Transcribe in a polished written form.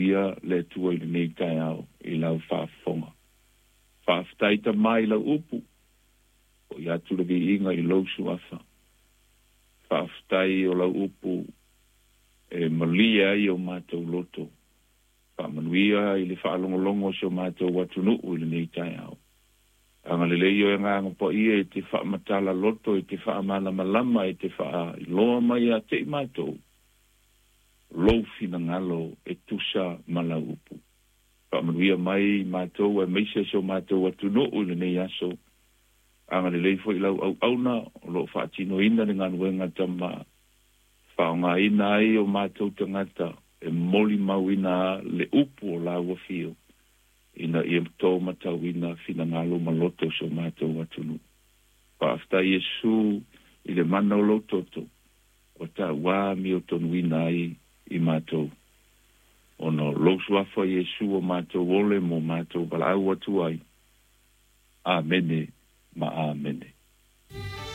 Faamanuia le Atua i lenei taeao i lau faafofoga. Faafetai Tama i lau upu, fo'i atu le viiga i lou Suafa. Faafetai o lau upu e malie ai o matou loto. Faamanuia i le faalogologo o si o matou atunuu i lenei taeao. Agalelei oe Agaga Paia e te faamatala loto, e te faamalamalama, e te faailoa mai ia te i matou lou finagalo e tusa ma lau upu. Faamanuia mai matou aemaise si o matou atunuu i lenei aso. Agalelei foi lau auauna o lo o faatinoina le galuega Tama, faaaogaina ai o matou tagata e molimauina le upu o lau afio, ina ia to matauina finagalo ma loto o si o matou atunuu. Faafetai Iesu i le mana o lou toto, ua tauā miotonuina ai i matou. Ona o lou suafa Iesu o matou ole mo matou valaau atu ai. Amene ma amene.